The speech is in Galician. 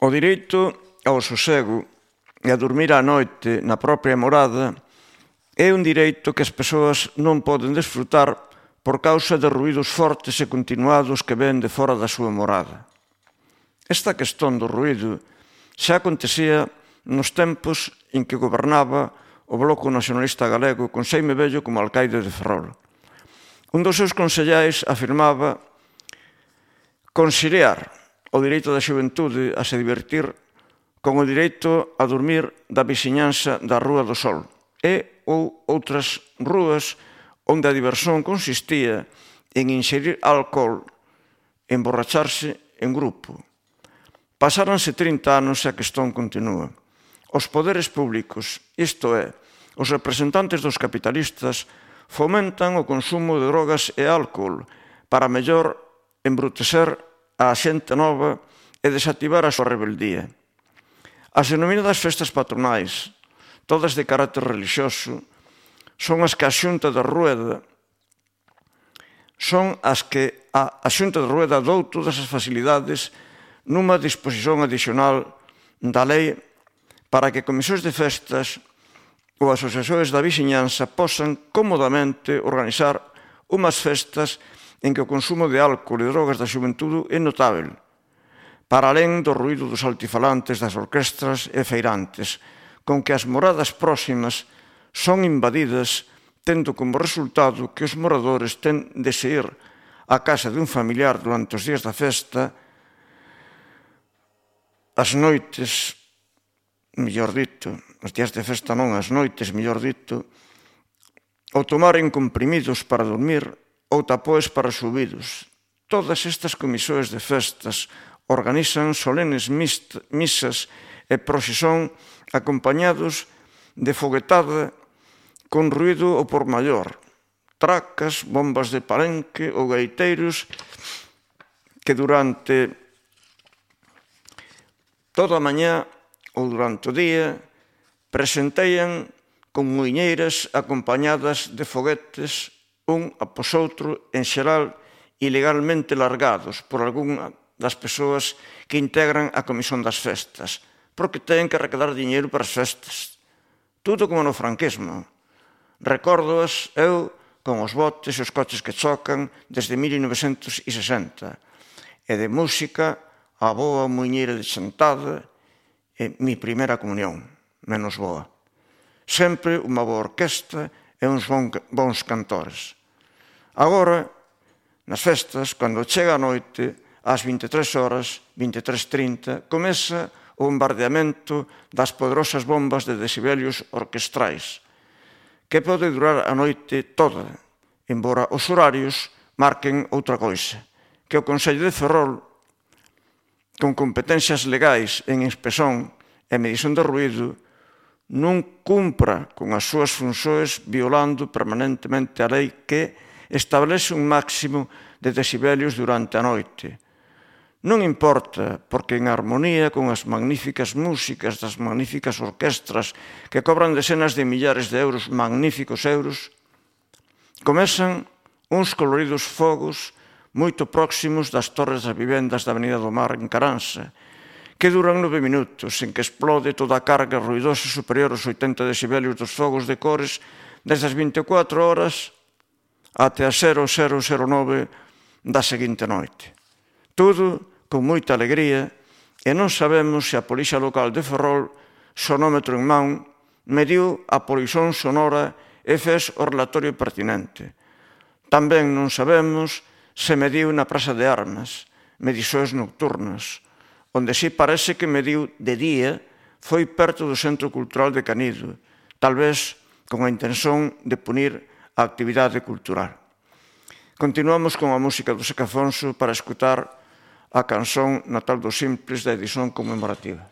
O direito ao sosego e a dormir á noite na propia morada é un direito que as persoas non poden desfrutar por causa de ruídos fortes e continuados que ven de fora da súa morada. Esta cuestión do ruído xa acontecía nos tempos en que gobernaba o Bloco Nacionalista Galego con Xaime Bello como alcaide de Ferrol. Un dos seus consellais afirmaba conciliar o direito da xuventude a se divertir con o direito a dormir da veciñanza da Rúa do Sol e ou outras rúas onde a diversión consistía en inxerir alcohol e emborracharse en grupo. Pasáronse 30 anos e a cuestión continúa. Os poderes públicos, isto é, os representantes dos capitalistas, fomentan o consumo de drogas e álcohol para mellor embrutecer a xente nova e desactivar a súa rebeldía. As denominadas festas patronais, todas de carácter religioso, son as que a Xunta de Rueda dou todas as facilidades nunha disposición adicional da lei para que comisións de festas ou asociacións da veciñanza posan cómodamente organizar unhas festas en que o consumo de álcohol e drogas da xuventude é notável, para alén do ruído dos altifalantes das orquestras e feirantes, con que as moradas próximas son invadidas, tendo como resultado que os moradores ten de se ir á casa dun familiar durante os días da festa, as noites, mellor dito, os días de festa non, as noites, mellor dito, ou tomaren comprimidos para dormir ou tapoes para subidos. Todas estas comisións de festas organizan solenes misas e procesión acompañados de foguetada con ruído ao por maior, tracas, bombas de palenque ou gaiteiros que durante toda a mañá ou durante o día presentean con muiñeiras acompañadas de foguetes un após outro, en xeral, ilegalmente largados por algunha das persoas que integran a comisión das festas, porque teñen que arrecadar diñeiro para as festas. Tudo como no franquismo. Recórdoas eu con os botes e os coches que chocan desde 1960. E de música, a boa muiñeira de Chantada e mi primeira comunión, menos boa. Sempre unha boa orquesta e uns bons cantores. Agora, nas festas, cando chega a noite, ás 23 horas, 23:30, comeza o bombardeamento das poderosas bombas de decibelios orquestrais, que pode durar a noite toda, embora os horarios marquen outra coisa, que o Concello de Ferrol, con competencias legais en inspección e medición de ruído, non cumpra con as súas funcións violando permanentemente a lei que establece un máximo de decibelios durante a noite. Non importa, porque en armonía con as magníficas músicas das magníficas orquestras que cobran decenas de millares de euros, magníficos euros, comezan uns coloridos fogos moito próximos das torres das vivendas da Avenida do Mar en Caranza, que duran 9 minutos, en que explode toda a carga ruidosa superior aos 80 decibelios dos fogos de cores desde as 24 horas até as 0009 da seguinte noite. Tudo con moita alegría e non sabemos se a Policia Local de Ferrol, sonómetro en man, mediu a polución sonora e fez o relatorio pertinente. Tamén non sabemos se mediu na Praza de Armas, medições nocturnas, onde si parece que mediu de día foi perto do Centro Cultural de Canido, tal vez con a intención de punir a actividade cultural. Continuamos con a música do Seca Afonso para escutar a canción Natal dos Simples da edición conmemorativa.